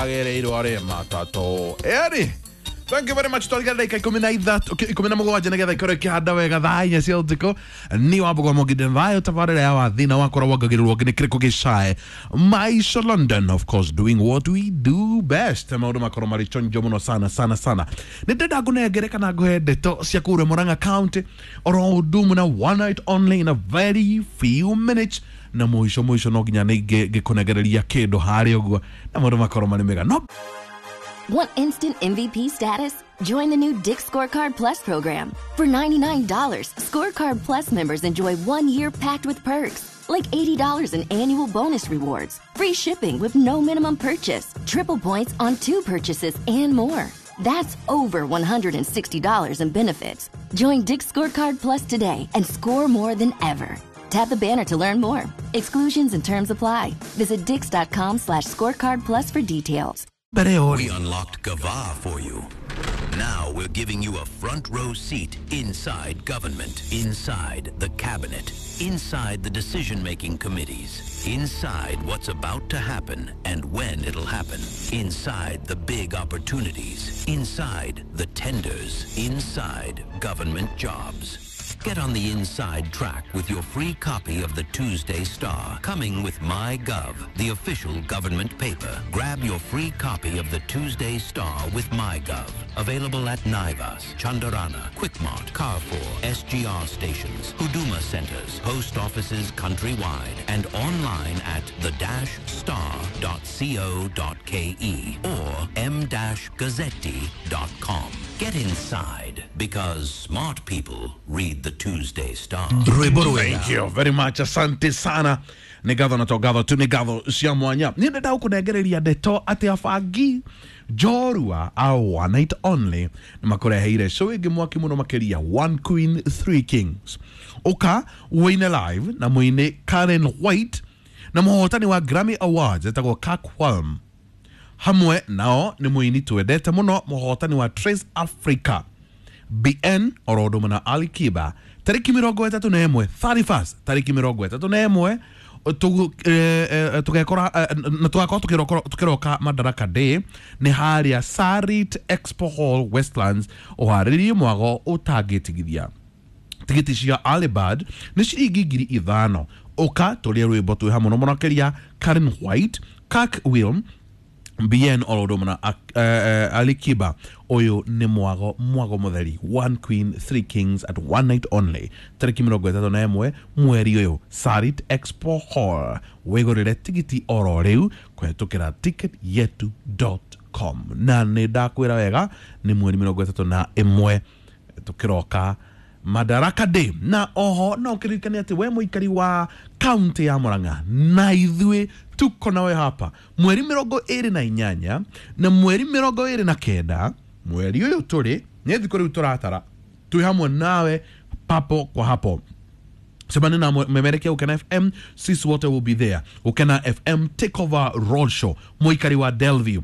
Ndagereirwo rĩ matatũ eri. Thank you very much. Twarigara ndagĩka 13, 17 nĩgetha ikorwo ikĩhanda wega thaa 4 cia ũtukũ. Nĩ wambũgwa mũginde thayũ tabarĩra ya wathina wakorwo wongagĩrĩrwo nĩ kĩrĩkũ gĩcae Maisha London, of course, doing what we do best. Maũndũ makorwo marĩ chonjo mũno sana sana sana. Nĩ ndĩrenda ngũnengere kana ngũhe ndeto cia kũrĩa Murang'a County oro ũndũ ũmwe na one night only in a very few minutes, na mũico mũico no nginya nĩ ngĩkũnengereria kĩndũ harĩa ũguo na maũndũ makorwo marĩ mega no. Want instant MVP status? Join the new Dick's Scorecard Plus program. For $99, Scorecard Plus members enjoy 1 year packed with perks, like $80 in annual bonus rewards, free shipping with no minimum purchase, triple points on two purchases, and more. That's over $160 in benefits. Join Dick's Scorecard Plus today and score more than ever. Tap the banner to learn more. Exclusions and terms apply. Visit dicks.com/scorecard plus for details. Mbere ĩyo We unlocked Gava for you. Now we're giving you a front row seat inside government, inside the cabinet, inside the decision making committees, inside what's about to happen and when it'll happen, inside the big opportunities, inside the tenders, inside government jobs. Get on the inside track with your free copy of the Tuesday Star, coming with MyGov, the official government paper. Grab your free copy of the Tuesday Star with MyGov. Available at Naivas, Chandarana, Quickmart, Carrefour, SGR stations, Huduma centers, post offices countrywide, and online at the-star.co.ke or m-gazzetti.com. Get inside, because smart people read the Tuesday Star. Rwĩmbo rwega. Thank you very much, asante sana. Nĩ ngatho na to ngatho tu, nĩ ngatho cia mwanya. Nĩ ndenda gũkũnengereria ndeto atĩ abangi njorua a one night only nĩ makũreheire show ĩngĩ mwaki mũno makĩria, One Queen Three Kings. Ũka wĩine live na mũini Karen White na mũhotani wa Grammy Awards etagwo Kirk Whalum. Hamwe nao nĩ mũini twendete mũno, mũhotani wa Trace Africa BN, oro ũndũ ũmwe na Ali Kiba, tarĩki 31, 31st, tarĩki 31 tũgekora na tũgakorwo tũkĩroka Madaraka Day. Nĩ harĩa Sarit Expo Hall, Westlands. Ũharĩrie mwago ũtangĩtigithia. Tigiti cia Alibad nĩ ciringi 5,000. Ũka tũrĩe rwĩmbo twĩ hamwe mũno makĩria, Karen White, Kirk Whalum, BN, oro ũndũ ũmwe na Ali Kiba. Ũyũ nĩ mwago mwago mũtheri, One Queen Three Kings at one night only, tarĩki 31 mweri ũyũ, Sarit Expo Hall. Wĩgũrĩre tigiti oro rĩu kũhetũkĩra ticketyetu.com. Na nĩ ndakwĩra wega, nĩ mweri 31 tũkĩroka Madaraka Day. Na oho no ũkĩririkane atĩ we mũikari wa kaunti ya Murang'a, na ithuĩ tuko nawe hapa mweri 28 na mweri 29 mweri ũyũ tũrĩ. Nĩ thikũ rĩu tũratara, twĩ hamwe nawe papo kwa hapo. Semani na memerekia Ukena FM, sisi wote will be there. Ukena FM Takeover Roadshow. Mũikari wa Delview,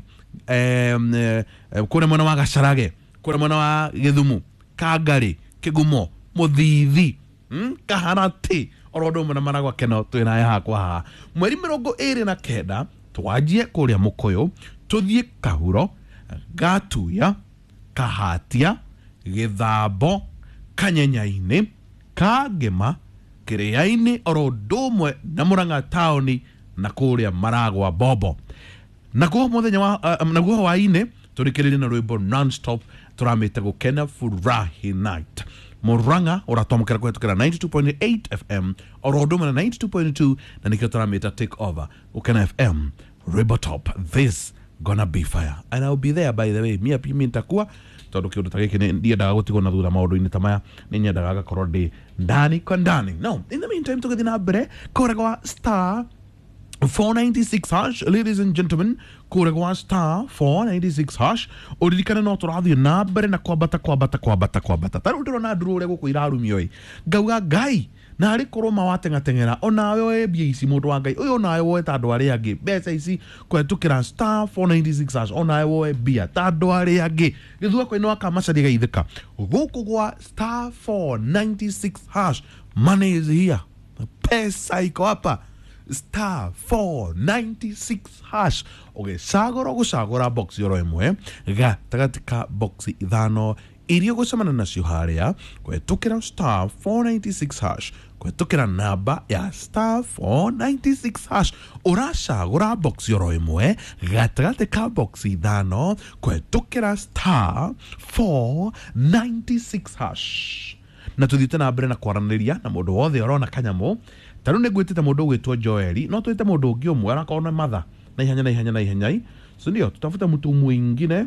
kũrĩa mwena wa Gacharage, kũrĩa mwena wa Gĩthumu, Kangari, Kĩgumo, Mũthithi, Kaharati, oro ũndũ ũmwe na Maragwa Keno, twĩ nawe hakwa haha mweri 29. Twanjie kũrĩa Mũkũyũ, tũthiĩ Kahuro, Gatuya, Kahatia, Gĩthambo, Kanyenyainĩ, Kangema, Kĩrĩa-inĩ, oro ũndũ ũmwe na Mũrang'a taũni na kũrĩa Maragwa Bobo. Naguo mũthenya wa naguo hwaĩ-inĩ tũrĩkĩrĩrie na rwĩmbo non-stop tũramĩte Gũkena Furahi Night. Murang'a ũratwamũkĩra kũhetũkĩra 92.8 FM oro ũndũ ũmwe na 92.2, na nĩkĩo tũramĩta Take Over. Gũkena FM rwĩmbo top. This gonna be fire and I'll be there, by the way. Mia pimi nitakuwa, tondũ kĩũndũ ta gĩkĩ ndiendaga gũtigwo na thutha. Maũndũ-inĩ ta maya nĩ nyendaga ngakorwo ndĩ ndani kwa ndani. No in the meantime, tũgĩthiĩ na mbere kũrĩa gwa star 496 hash, ladies and gentlemen, kũrĩa gwa star 496 hash, ũririkane no tũrathiĩ na mbere na kwambata, kwambata, kwambata, kwambata. Ta rĩu ndĩrona nduru ũrĩa gũkũ irarumio ĩ, ngauga Ngai narĩ korwo ma wateng'ateng'era onawe woe mbia ici. Mũndũ wa Ngai ũyũ, onawe woe ta andũ arĩa angĩ mbeca ici kũhetũkĩra star 496 hash. Onawe woe mbia ta andũ arĩa angĩ. Gĩthua no akamacaria geithĩka gũkũ gwa star 496 hash. Money is here, pesa iko hapa. star 496 hash ũgĩcagũra ũgũcagũra box oro ĩmwe gatagatĩ ka box ithano iria ũgũcemania nacio harĩa kũhetũkĩra star 496 hash kũhetũkĩra namba ya star 496 hash ũracagũra box oro ĩmwe gatagatĩ ka box ithano kũhetũkĩra star 496 hash. Na tuthiĩte na mbere na kwaranĩria na mũndũ wothe ũrona kanyamũ. Ta rĩu nĩ ngwĩtĩte mũndũ ũgwĩtwo Joeli, no twĩte mũndũ ũngĩ ũmwe arakorwo nĩ matha na ihenya na ihenya na ihenya, si ndio? Tutafute mtu mwingine.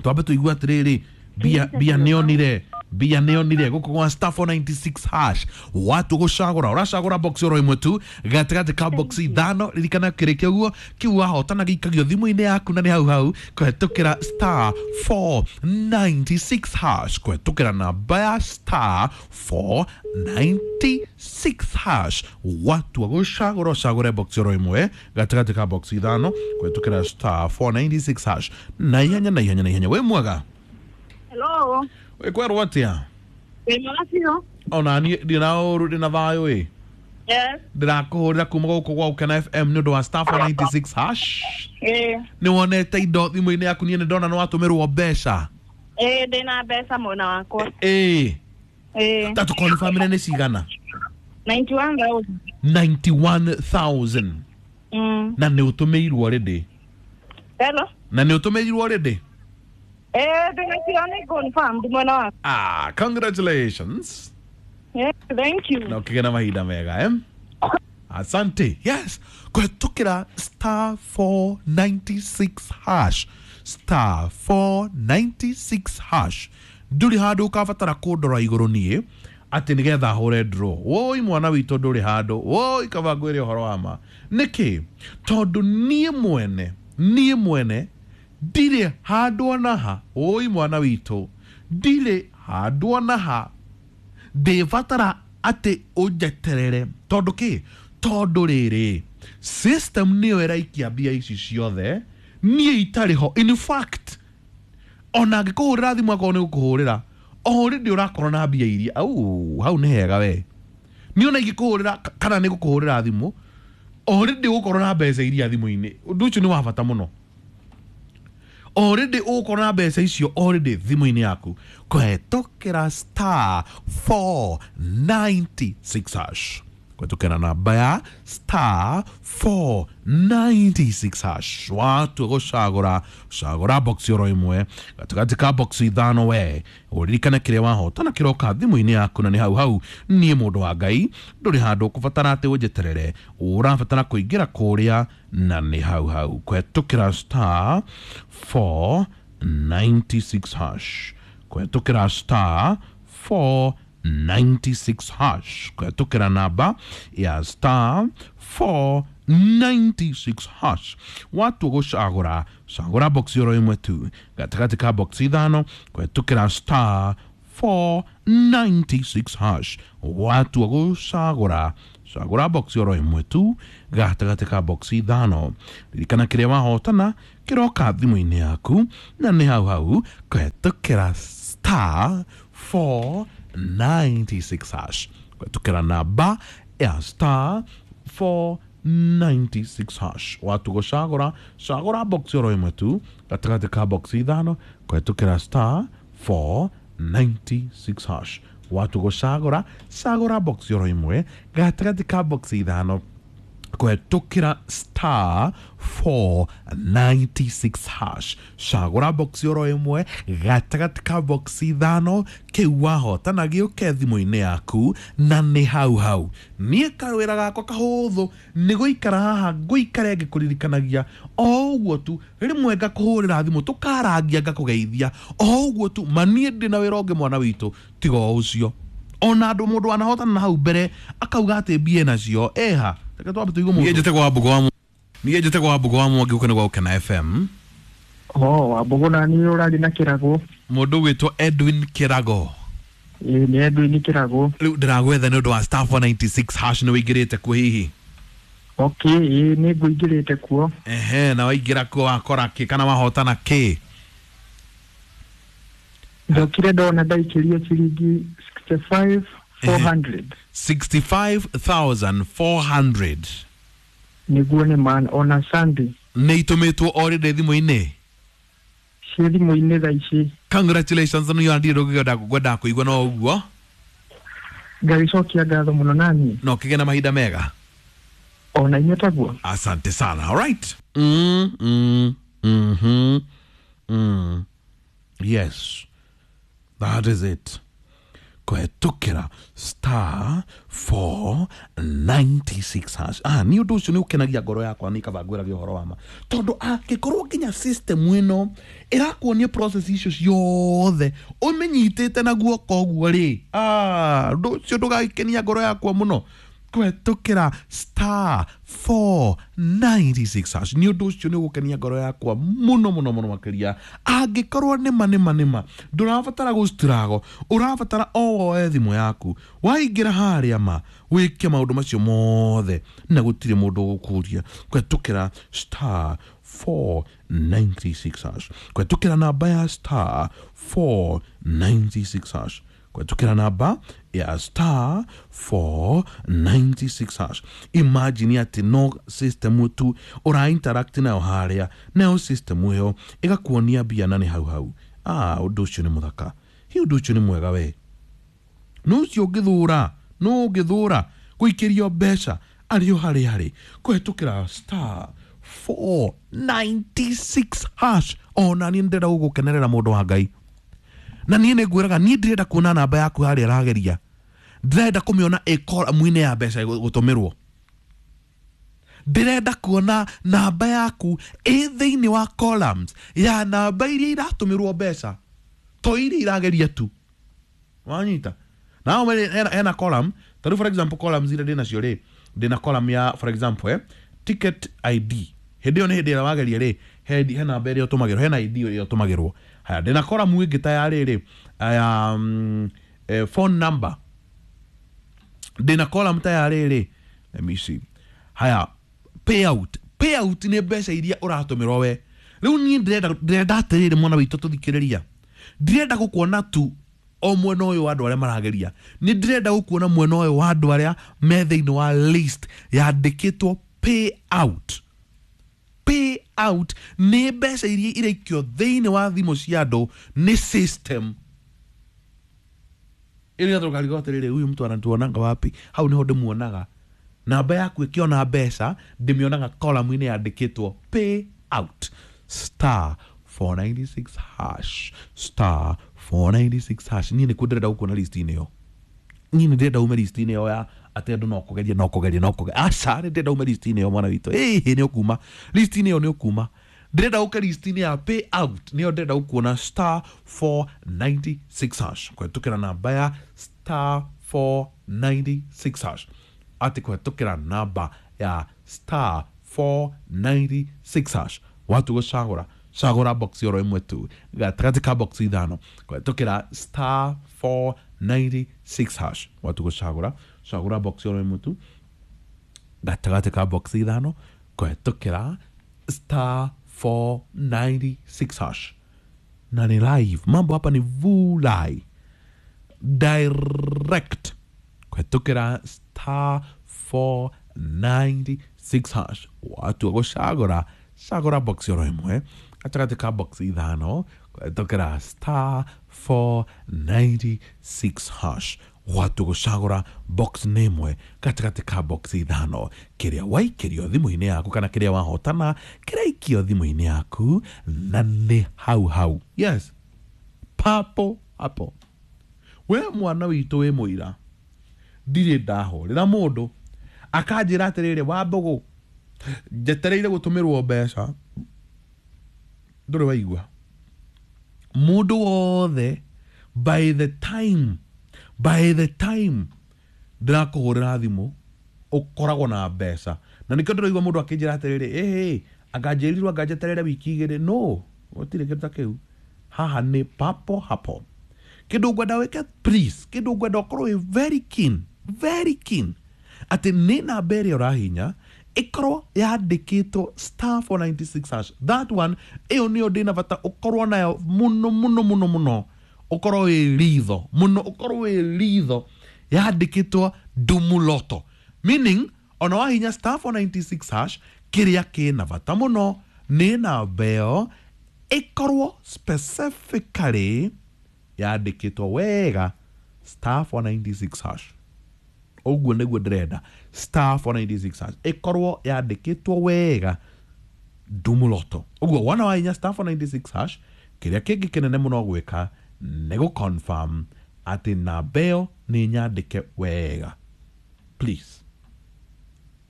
Twambe tuigue atĩrĩrĩ, mbia nĩonire, mbia nĩonire gũkũ gwa star 496 hash. Watu gũcagũra ũracagũra box oro ĩmwe tu gatagatĩ ka box ithano. Ririkana kĩrĩkia ũguo kĩu wahotana gĩikagio thimũ-inĩ yaku na nĩ hau hau kũhetũkĩra star 496 hash, kũhetũkĩra namba ya star 496 hash. Watu gũcagũra ũcagũre box oro ĩmwe gatagatĩ ka box ithano kũhetũkĩra star 496 hash na ihenya na ihenya na ihenya. Wĩ mwega? Hello. Wĩkwerwo atĩa? Wĩ mwega biũ. Ona niĩ ndĩ na ũru, ndĩ na thayũ ĩ. Yes. Ndĩrakũhũrĩra kuma gũkũ gwa Ũkena FM nĩ ũndũ wa star 496 hash. Ĩĩ. Nĩ wonete indo thimũ-inĩ yaku? Niĩ nĩ ndona nĩ watũmĩrwo mbeca. Ĩĩ, ndĩna mbeca mwena wakwa. Ĩĩ. Ĩĩ. Ta tũkonfamire nĩ cigana? 91,000. 91,000. Na nĩ ũtũmĩirwo already? Hello. Na nĩ ũtũmĩirwo already? Ĩĩ, ndĩnacio nĩ confirmed mwena wakwa. Ah, congratulations. Yeah, thank you. Na ũkĩgĩa na mahinda mega, eh? Asante. Yes, kũhetũkĩra star 496 hash, star 496 hash. Ndũrĩ handũ ũkabatara kũndora igũrũ niĩ atĩ nĩgetha hũre draw. Woi mwana witũ, ndũrĩ handũ. Woi kaba ngwĩre ũhoro wa ma. Nĩkĩ? Tondũ niĩ mwene ndirĩ handũ ona ha. Woi mwana witũ, ndirĩ handũ ona ha ndĩbatara atĩ ũnjeterere. Tondũ kĩ? Tondũ rĩrĩ system nĩyo ĩraikia mbia ici ciothe, niĩ itarĩ ho. In fact, ona angĩkũhũrĩra thimũ, akorwo nĩ gũkũhũrĩra, already ũrakorwo na mbia iria au hau. Nĩ hega we. Niĩ ona ingĩkũhũrĩra kana nĩ gũkũhũrĩra thimũ, already ũgũkorwo na mbeca iria thimũ-inĩ. Ũndũ ũcio nĩ wa bata mũno. Already ũgũkorwo na mbeca icio already thimũ-inĩ yaku kũhetũkĩra star 496 hash, kũhetũkĩra namba ya star 496 hash. Watua gũcagũra, cagũra box oro ĩmwe gatagatĩ ka box ithano. We ũririkane kĩrĩa wahotana kĩroka thimũ-inĩ yaku na nĩ hau hau. Niĩ mũndũ wa Ngai, ndũrĩ handũ ũkũbatara atĩ ũnjeterere. Ũrabatara kũingĩra kũrĩa na nĩ hau hau kũhetũkĩra star 496 hash, kũhetũkĩra star 496 hash, kũhetũkĩra namba ya star 496 hash. Watua gũcagũra, cagũra box oro ĩmwe tu gatagatĩ ka box ithano kũhetũkĩra star 496 hash. Watua gũcagũra, cagũra box oro ĩmwe tu gatagatĩ ka box ithano. Ririkana kĩrĩa wahotana kĩroka thimũ-inĩ yaku na nĩ hau hau kũhetũkĩra star 496 hash, kũhetũkĩra namba ya star 496 hash. Watu gũcagũra, cagũra box oro ĩmwe tu gatagatĩ ka box ithano kũhetũkĩra star 496 hash. Watu gũcagũra, cagũra box oro ĩmwe gatagatĩ ka box ithano kũhetũkĩra star 496 hash. Cagũra box oro ĩmwe gatagatĩ ka box ithano, kĩu wahotana gĩũke thimũ-inĩ yaku na nĩ hau hau. Niĩ kawĩra gakwa kahũthũ nĩ gũikara haha ngũikare ngĩkũririkanagia o ũguo tu. Rĩmwe ngakũhũrĩra thimũ, tũkarangia, ngakũgeithia o ũguo tu. Ma niĩ ndĩ na wĩra ũngĩ, mwana witũ, tiga o ũcio. Ona andũ mũndũ wanahotana na hau mbere akauga atĩ mbia nacio eha. Reke twambe tũigue mũndũ. Niĩ njĩtagwo Wambũgũ wa Mwangi, gũkũ nĩ gwa Ũkena FM. Oh, Wambũgũ na niĩ ũrarĩ na Kĩrago. Mũndũ ũgwĩtwo Edwin Kĩrago? Ĩĩ, nĩ Edwin Kĩrago. Rĩu ndĩragwetha nĩ ũndũ wa star 496 hash. Nĩ wĩingĩrĩte kuo hihi? Okay, ĩĩ, nĩ ngũingĩrĩte kuo. Ehe, na waingĩra kuo wakora kĩ kana wahotana kĩ? Ndokire ndona ndaikĩrio ciringi 65. 400. 65,400. Nĩguo nĩ man ona Sunday. Nĩ itũmĩtwo already thimũ-inĩ. Ciĩ thimũ-inĩ thaa ici. Congratulations nĩ yandire ndũngĩenda ngwenda kũigua no ũguo. Ngagĩcokia ngatho mũno naniĩ. No kĩgĩe na mahinda mega. Ona inyuĩ taguo. Asante sana. All right. Yes. That is it. Kũhetũkĩra star 496 hash. Nĩ ũndũ ũcio nĩ ũkenagia ngoro yakwa nĩ kaba ngwĩragia ũhoro wa ma. Tondũ angĩkorwo nginya system ĩno ĩrakuonia process icio ciothe ũmĩnyitĩte na guoko ũguo rĩ, ũndũ ũcio ndũgagĩkenia ngoro yakwa mũno. Kũhetũkĩra star 496 hash nĩ ũndũ ũcio nĩ ũgũkenia ngoro yakwa mũno mũno mũno makĩria. Angĩkorwo nĩma nĩma nĩma ndũrabatara gũstrago, ũrabatara o woe thimũ yaku waingĩra harĩa ma wĩke maũndũ macio mothe na gũtirĩ mũndũ ũgũkũria. Kũhetũkĩra star 496 hash, kũhetũkĩra namba ya star 496 hash, kũhetũkĩra namba ya star 496 hash. Imagine atĩ no system tu ũra interact nayo harĩa, nayo system ĩyo ĩgakuonia mbia na nĩ hau hau. Ũndũ ũcio nĩ mũthaka, hi ũndũ ũcio nĩ mwega we. No ũcio ũngĩthũra, no ũngĩthũra gũikĩrio mbeca arĩ o harĩa harĩ kũhetũkĩra star 496 hash. Ona niĩ ndĩrenda gũgũkenerera mũndũ wa Ngai, na niĩ nĩ ngwĩraga niĩ ndĩrenda kuona namba yaku harĩa ĩrageria, ndĩrenda kũmĩona ĩ column-inĩ ya mbeca gũtũmĩrwo, ndĩrenda kuona namba yaku ĩ thĩinĩ wa columns ya namba iria iratũmĩrwo mbeca, to iria irageria tu. Wanyita? Nao hena column, ta rĩu for example columns iria ndĩnacio rĩ, ndĩna column ya for example ticket ID. Hĩndĩ ĩyo nĩ hĩndĩ ĩrĩa wageria rĩ, he namba ĩrĩa ũtũmagĩrwo, hena ID ĩrĩa ũtũmagĩrwo. Haya, ndĩna column ĩngĩ ta ya rĩrĩ ya phone number, ndĩna column ta ya rĩrĩ, let me see. Haya, payout. Payout nĩ mbeca iria ũratũmĩrwo we. Rĩu niĩ ndĩrenda atĩrĩrĩ mwana witũ tũthikĩrĩria, ndĩrenda gũkuona tu o mwena ũyũ wa andũ arĩa marageria, nĩ ndĩrenda gũkuona mwena ũyũ wa andũ arĩa me thĩinĩ wa list yandĩkĩtwo payout. Payout nĩ mbeca iria iraikio thĩinĩ wa thimũ cia andũ nĩ system. Ĩrĩa tũkarigo atĩrĩrĩ, huyu mtu anatuonanga wapi? Hau nĩho ndĩmuonaga. Namba yaku ĩkĩona mbeca ndĩmĩonaga column-inĩ yandĩkĩtwo payout. Star 496 hash, star 496 hash. Niĩ nĩkuo ndĩrenda gũkuona list-inĩ ĩyo. Niĩ nĩ ndĩrenda ume list-inĩ ĩyo ya atĩ andũ no kũgeria no kũgeria no kũgeria. Aca, nĩ ndĩrenda ume list-inĩ ĩyo mwana witũ. Ĩĩ nĩ ũkuma list-inĩ ĩyo, nĩ ũkuma. Ndĩrenda ũke list-inĩ ya payout, nĩyo ndĩrenda gũkuona star 496 hash. Kũhetũkĩra namba ya star 496 hash, atĩ kũhetũkĩra namba ya star 496 hash. Watu gũcagũra cagũra box oro ĩmwe tu gatagatĩ ka box ithano, kũhetũkĩra star 496 hash. Watu gũcagũra cagũra box oro ĩmwe tu gatagatĩ ka box ithano, kũhetũkĩra star 496 hash. Na ni live, mambo hapa ni vulai direct, kũhetũkĩra star 496 hash. Watu gũcagũra cagũra box oro ĩmwe gatagatĩ ka box ithano, kũhetũkĩra star 496 hash. Watu gũcagũra box nĩ ĩmwe gatagatĩ ka box ithano, kĩrĩa waikĩrio thimũ-inĩ yaku kana kĩrĩa wahotana kĩraikio thimũ-inĩ yaku, na nĩ hau hau. Yes, papo hapo. We mwana witũ wĩ mũira, ndirĩ ndahũrĩra mũndũ akanjĩra atĩrĩrĩ, Wambũgũ njetereire gũtũmĩrwo mbeca. Ndũrĩ waigua mũndũ wothe by the time ndĩrakũhũrĩra thimũ ũkoragwo na mbeca. Na nĩkĩo ndĩraigua mũndũ akĩnjĩra atĩrĩrĩ, ĩhĩ anganjĩrirwo anganjeterere wiki igĩrĩ. No, gũtirĩ kĩndũ ta kĩu. Haha nĩ papo hapo. Kĩndũ ngwenda wĩke please, kĩndũ ngwenda ũkorwo wĩ very keen, very keen atĩ nĩ namba ĩrĩa ũrahinya ĩkorwo yandĩkĩtwo star 496 hash. That one, ĩyo nĩyo ndĩna bata ũkorwo nayo mũno mũno mũno mũno, ũkorwo wĩ ritho mũno, ũkorwo wĩ ritho yandĩkĩtwo Dumu Lotto, meaning ona wahinya star 496 hash, kĩrĩa kĩna bata mũno nĩ namba ĩyo ĩkorwo specifically yandĩkĩtwo wega star 496 hash. Ũguo nĩguo ndĩrenda, star 496 hash ĩkorwo yandĩkĩtwo wega Dumu Lotto. Ũguo wona wahinya star 496 hash, kĩrĩa kĩngĩ kĩnene mũno gwĩka nĩ gũ-confirm atĩ namba ĩyo nĩ nyandĩke wega. Please,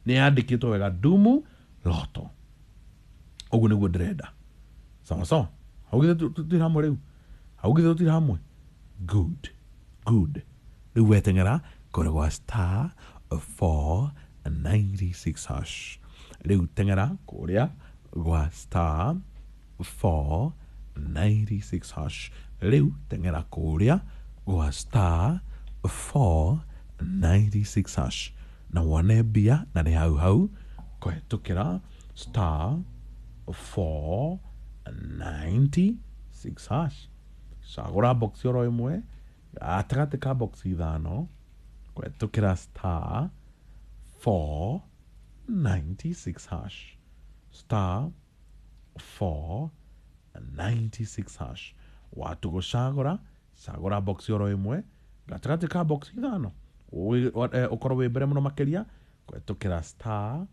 nĩ yandĩkĩtwo wega Dumu Lotto. Ũguo nĩguo ndĩrenda. Sawa sawa, hau githĩ tũtirĩ hamwe rĩu? Hau githĩ tũtirĩ hamwe? Good, good. Rĩu weteng'era kũrĩ gwa star 496 hash. Rĩu teng'era kũrĩa gwa star 496 hash. Rĩu teng'era kũrĩa gwa star 496 hash na wone mbia, na nĩ hau hau kũhetũkĩra star 496 hash. Cagũra box oro ĩmwe gatagatĩ ka box ithano kũhetũkĩra star 496 hash, star 496 hash. Watu gũcagũra, cagũra box oro ĩmwe gatagatĩ ka box ithano, ũkorwo wĩ mbere mũno makĩria kũhetũkĩra star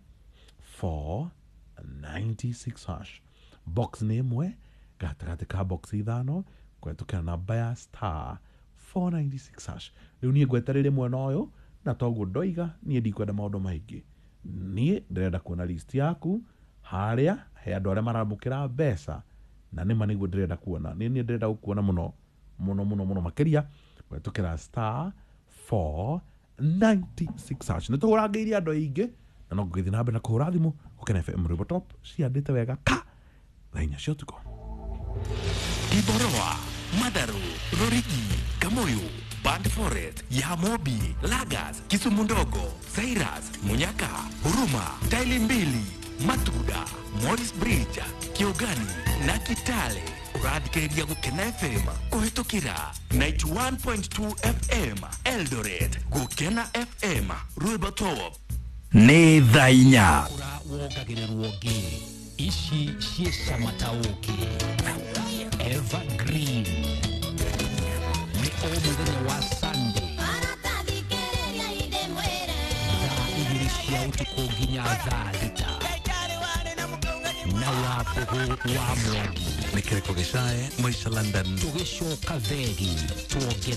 496 hash. Box nĩ ĩmwe gatagatĩ ka box ithano kũhetũkĩra namba ya star 496 hash. Rĩu niĩ ngwetereire mwena ũyũ, na toguo ndoiga niĩ ndikwenda maũndũ maingĩ. Niĩ ndĩrenda kuona list yaku harĩa he andũ arĩa maramũkĩra mbeca, na nĩma nĩguo ndĩrenda kuona. Niĩ ndĩrenda gũkuona mũno mũno mũno mũno makĩria kũhetũkĩra star 496 hash. Nĩ tũhũrangĩirie andũ aingĩ na no ngũgĩthiĩ na mbere na kũhũra thimũ. Gũkena FM Rwĩmbo Top ciandĩte wega ka thaa inya cia ũtukũ. Kiboroa, Madaru, Rorigi, Kamoyo, Band Forest, Yamobi, Lagas, Kisumu Ndogo, Cyrus, Munyaka, Huruma, Taili Mbili, Matuda, Morris Bridge, Kiogani na Kitale. Ũrathikĩrĩria Gũkena FM kũhĩtũkĩra 91.2 FM Eldoret. Gũkena FM Rwĩmbo Top. Nĩ thaa inya. Kũra wongagĩrĩrwo ngĩ ici ciĩ cama ta ũkĩ. Evergreen nĩ o mũthenya wa Sunday thaa 2 cia ũtukũ nginya thaa 6 na Wambũgũ wa Mwangi. Nĩ kĩrĩko gĩcae Maisha London. Tũgĩcoka thegi tuongerere.